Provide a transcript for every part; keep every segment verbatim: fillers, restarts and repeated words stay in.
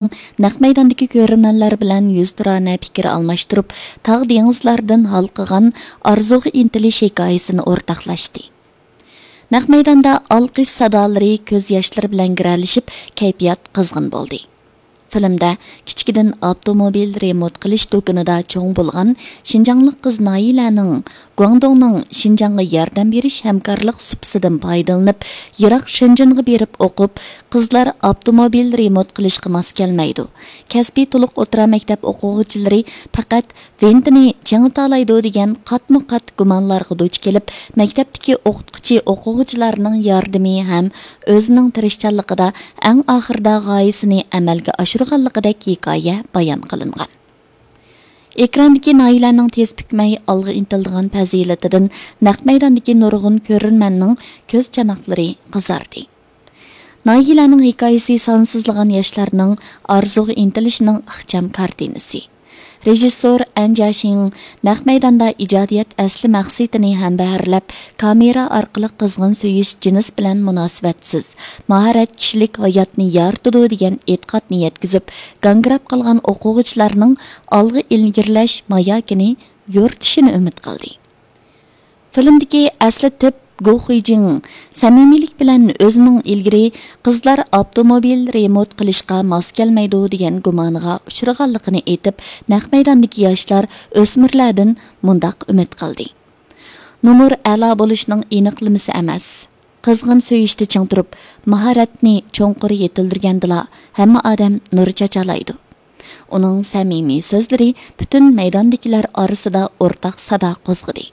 نەق مەيداندىكى كۆرۈرمەنلەر بىلەن يۈزتۇرانە پىكىر ئالماشتۇرۇپ، تاغ دېڭىزلاردىن ھالقىغان ئارزۇغا ئىنتىلىش ھېكايىسىنى ئورتاقلاشتى. نەق مەيداندا ئالقىش سادالىرى كۆز ياشلىرى بىلەن گىرەلىشىپ، كەيپىيات قىزغىن بولدى. فىلىمدە كىچىكىدىن ئاپتوموبىل رېمونت قىلىش دۇكىنىدا چوڭ بولغان شىنجاڭلىق قىز نايىلەنىڭ گۇاڭدۇڭنىڭ شىنجاڭغا ياردەم بېرىش ھەمكارلىق سۇپىسىدىن پايدىلىنىپ، يىراق شېنجېنغا بېرىپ ئوقۇپ، قىزلار ئاپتوموبىل رېمونت قىلىشقا ماس كەلمەيدۇ، كەسپىي تولۇق ئوتتۇرا مەكتەپ ئوقۇغۇچىلىرى پەقەت ۋىنتىنى چىڭىتالايدۇ دېگەن قاتمۇ قات گۇمانلارغا دۇچ كېلىپ، مەكتەپتىكى ئوقۇتقۇچى ئوقۇغۇچىلارنىڭ ياردىمى ھەم ئۆزىنىڭ تىرىشچانلىقىدا ئەڭ ئاخىرىدا غايىسىنى ئەمەلگە ئاشۇرغانلىقىدەك ھېكايە بايان قىلىنغان. ئېكراندىكى نايىلەنىڭ تېز پۈكمەي ئالغا ئىنتىلىدىغان پەزىلىتىدىن نەق مەيداندىكى نۇرغۇن كۆرۈرمەننىڭ كۆز چاناقلىرى قىزاردى. نايىلەنىڭ ھېكايىسى سانسىزلىغان ياشلارنىڭ ئارزۇغا ئىنتىلىشىنىڭ ئىخچام كارتىنىسى. رېژىسسور ئەن جياشىڭ نەق مەيداندا ئىجادىيەت ئەسلى مەقسىتىنى ھەمبەھىرلەپ، كامېرا ئارقىلىق قىزغىن سۆيۈش جىنس بىلەن مۇناسىۋەتسىز، ماھارەت كىشىلىك ھاياتنى يارىتىدۇ دېگەن ئېتىقادنى يەتكۈزۈپ، گاڭگىراپ قالغان ئوقۇغۇچىلارنىڭ ئالغا ئىلگىرىلەش ماياكىنى يورۇتۇشىنى ئۈمىد قىلدى. فىلىمدىكى ئەسلى تىپ گو خۇيجىڭ سەمىمىيلىك بىلەن ئۆزىنىڭ ئىلگىرى قىزلار ئاپتوموبىل رېمونت قىلىشقا ماس كەلمەيدۇ دېگەن گۇمانىغا ئۇچرىغانلىقىنى ئېيتىپ، نەق مەيداندىكى ياشلار ئۆسمۈرلەردىن مۇنداق ئۈمىد قىلدى: نومۇر ئەلا بولۇشنىڭ ئېنىقلىمىسى ئەمەس. قىزغىن سۆيۈشتە چىڭ تۇرۇپ، ماھارەتنى چوڭقۇر يېتىلدۈرگەندىلا، ھەممە ئادەم نۇر چاچالايدۇ. ئۇنىڭ سەمىمىي سۆزلىرى پۈتۈن مەيداندىكىلەر ئارىسىدا ئورتاق سادا قوزغىدى.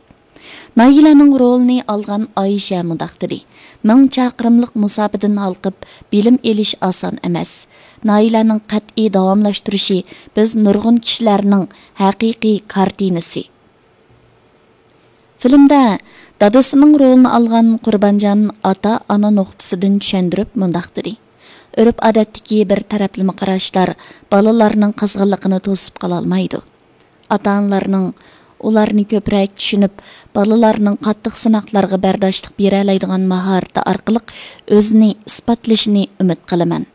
نايىلەنىڭ رولىنى ئالغان ئايشە مۇنداق دېدى: «مىڭ چاقىرىملىق مۇساپىدىن ھالقىپ، بىلىم ئېلىش ئاسان ئەمەس. نايىلەنىڭ قەتئىي داۋاملاشتۇرۇشى بىز نۇرغۇن كىشىلەرنىڭ ھەقىقىي كارتىنىسى.» فىلىمدە دادىسىنىڭ رولىنى ئالغان قۇربانجان ئاتا-ئانا نۇقتىسىدىن چۈشەندۈرۈپ مۇنداق دېدى: «ئۆرپ-ئادەتتىكى بىر تەرەپلىمە قاراشلار بالىلارنىڭ قىزغىنلىقىنى توسۇپ قالالمايدۇ. ئاتا-ئانىلارنىڭ ئۇلارنى كۆپرەك چۈشىنىپ، بالىلارنىڭ قاتتىق سىناقلارغا بەرداشلىق بېرەلەيدىغان ماھارىتى ئارقىلىق ئۆزىنى ئىسپاتلىشىنى ئۈمىد قىلىمەن.»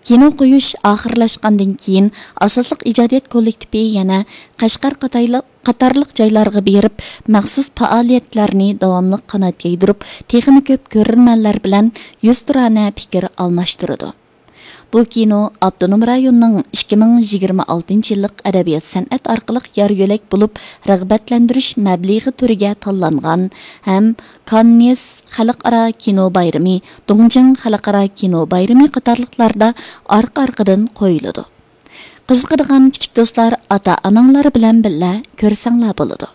كىنو قويۇش ئاخىرلاشقاندىن كېيىن، ئاساسلىق ئىجادىيەت كوللېكتىپى يەنە قەشقەر قاتايلىق-، قاتارلىق جايلارغا بېرىپ، مەخسۇس پائالىيەتلەرنى داۋاملىق قانات يايدۇرۇپ، تېخىمۇ كۆپ كۆرۈرمەنلەر بىلەن يۈزتۇرانە پىكىر ئالماشتۇرىدۇ. بۇ كىنو ئاپتونوم رايوننىڭ ئىككى مىڭ يىگىرمە ئالتىنچى يىللىق ئەدەبىيات-سەنئەت ئارقىلىق يار-يۆلەك بولۇپ رىغبەتلەندۈرۈش مەبلىغى تۈرىگە تاللانغان ھەم كاننېس خەلقئارا كىنو بايرىمى، دۇڭجىڭ خەلقئارا كىنو بايرىمى قاتارلىقلاردا ئارقا-ئارقىدىن قويۇلىدۇ. قىزىقىدىغان كىچىك دوستلار ئاتا-ئاناڭلار بىلەن بىللە كۆرسەڭلار بولىدۇ.